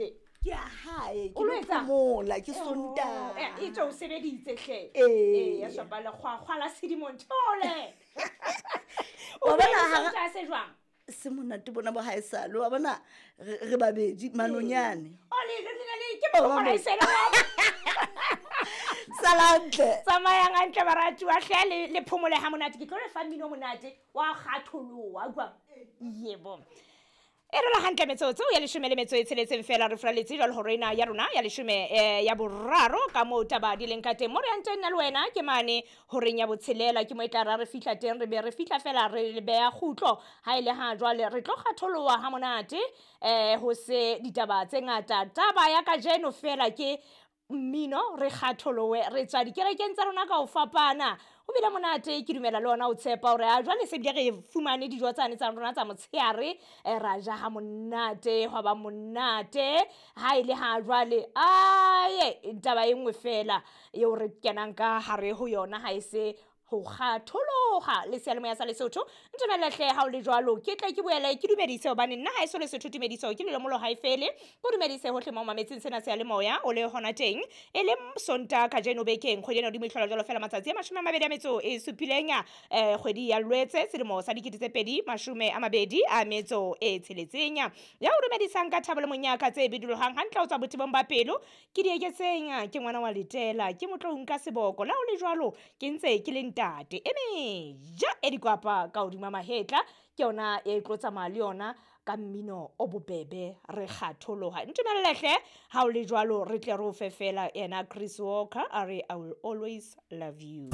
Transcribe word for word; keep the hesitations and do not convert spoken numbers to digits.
nje? Ke a hae, ke O lo lo etsang? phomola, ke Sontaha. Eh, e tswe o sebeditse hle. Ee. Ee, ya shapa lekgwakgwa la sedimo nthole. Wa O bona bona hara- Sontaha se jwang? Se monate bona bo haesale, wa bona re re babedi manonyane. O le le le le ke Oh, mokgwa mama. isela wa. Sala hantle. Tsamayang hantle baratuwa hle, le le phomole ha monate. Ke tlo le fa mmino o monate wa kgatholoha, utlwa? Yebo. E rola hantle metsotso ya leshome le metso e tsheletseng fela re furaletse jwalo hore ena ya rona ya leshome, eh, ya boraro ka moo taba di leng ka teng. Mo re yang teng nna le wena ke mane horeng ya botshelela, ke mo e tla ra re fihla teng, re be re fihla fela re beha kgutlo. Ha e le ha jwale re tlo kgatholoha ha monate, eh, ho se ditaba tse ngata. Taba ya kajeno fela ke mmino, re kgatholohe, re tswa dikerekeng tsa rona ka ho fapana. Ho bile monate, ke dumela le ona o tshepa hore a jwale se bile re fumane dijo tsane tsa rona tsa motshehare, eh, ra ja ha monate, hwa ba monate. Ha e le ha jwale, aye, taba e nngwe fela eo re kenang ka hare ho yona ha e se ho kgatholoha le seyalemoya sa Lesotho. Ntumelle hle ha o le jwalo, ke tle ke boele ke dumedise hobane nna ha eso Lesotho tumediso ke lelomolo ha e fele. Ko dumedise hohle mo mametseng sena seyalemoya o le hona teng. E le Sontaha kajeno bekeng, kgwedi ena hodimo e hlola jwalo fela matsatsi a mashome a mabedi a metso e supileng, eh, kgwedi ya Lwetse selemo sa dikete tse pedi mashome a mabedi a metso e tsheletseng. Ya o dumedisang ka thabo le monyaka tse bidulohang hantle ho tswa botebong ba pelo, ke di eketseng, ke ngwana wa Letela, ke motlo nka seboko. La o le jwalo ke ntse ke le ntate e meja e dikwapa ka hodima mahetla, ke yona e tlo tsamaya le yona ka mmino o bobebe re kgatholoha. Ntumelle hle ha o le jwalo re tle re o fe fela yena Chris Walker a re I will always love you.